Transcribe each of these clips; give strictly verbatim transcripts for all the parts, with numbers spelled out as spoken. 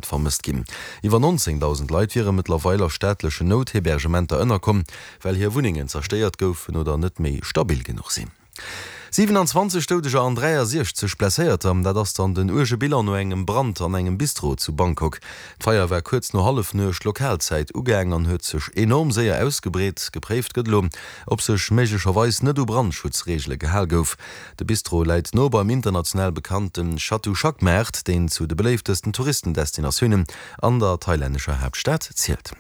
Vermësst ginn. Iwwer nonzéngdausend Leit wiere mëttlerweil a staatlechen Nout-Hebergementer ënnerkomm, well hir Wunnengen zerstéiert goufen oder net méi stabil genuch sinn. siwenanzwanzeg Doudeger an dräiasiechzeg Blesséierter, dat ass dann den uerge Bilan no engem Brand an engem Bistro zu Bangkok. D'Feier war kuerz no Hallefnuecht Lokalzäit ugaang an huet sech enorm séier ausgebreet. Gepréift gëtt elo, ob sech méiglecherweis net u Brandschutzreegele gehal gouf. De Bistro läit no beim international bekannte Chatuchak-Maart, deen zu de beléiftesten Touristendestinatiounen an der thailännescher Haaptstad zielt.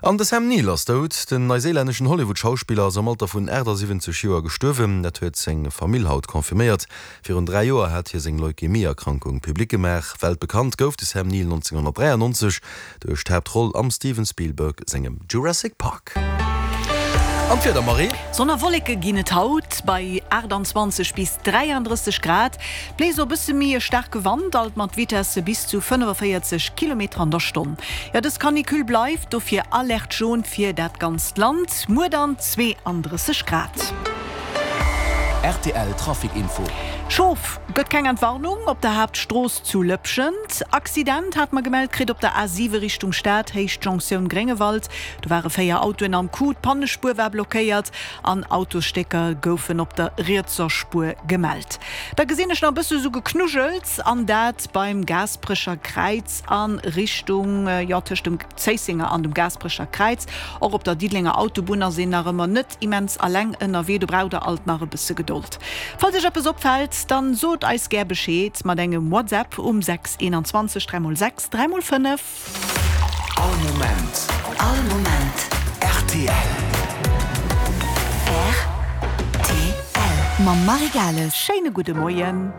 An de Sam Neill ass dout. Den neiséilänneschen Hollywood-Schauspiller ass am Alter vun aachtsiwwenzeg Joer gestuerwen. Dat huet seng Famill haut confirméiert. Virun dräi Joer hat hie seng Leukämie-Erkrankung public gemaach. Weltbekannt gouf de Sam Neill nonzénghonnertdräiannonzeg duerch d'Haaptroll am Steven Spielberg sengem Jurassic Park. An d'Wieder, Marie? Sonn a Wolleke ginn et haut bei aachtanzwanzeg bis dräiandrësseg Grad. Bléist och e bësse méi e staarke Wand, alt mat Vitesse bis zu fënnefaféierzeg Kilometer an der Stonn. Jo, dës Canicule bleift, dofir Alerte jaune fir dat ganzt Land. Muer dann zweeandrësseg Grad. Rtl Trafic Info. Schof gëtt keng Entwarnung op der Haaptstrooss zu Lëpschent. Accident hat mer gemellt kritt op der A siwe Richtung Stad, Héicht Jonktioun Gréngewald. Do ware véier Autoen am Coup, d'Pannespuer war blockéiert an Autosstécker goufen op der rietser Spuer gemellt. Da gesinn ech nach e bësse sou Geknuddels an dat beim Gaasperecher Kräiz a Richtung, jo tëscht dem Zéissenger an dem Gaasperecher Kräiz. Och op der Diddelenger Autobunn ass een nach ëmmer net immens alleng ënnerwee, do braucht der alt nach e bësse Gedold. Falls iech eppes opfält, dann sot eis gär Bescheed mat engem WhatsApp um sechs eenanzwanzeg dräi mol sechs dräi mol fënnef. All Moment. All Moment. Rtl. Rtl. Mam Marie Gales. Schéine gudde Moien.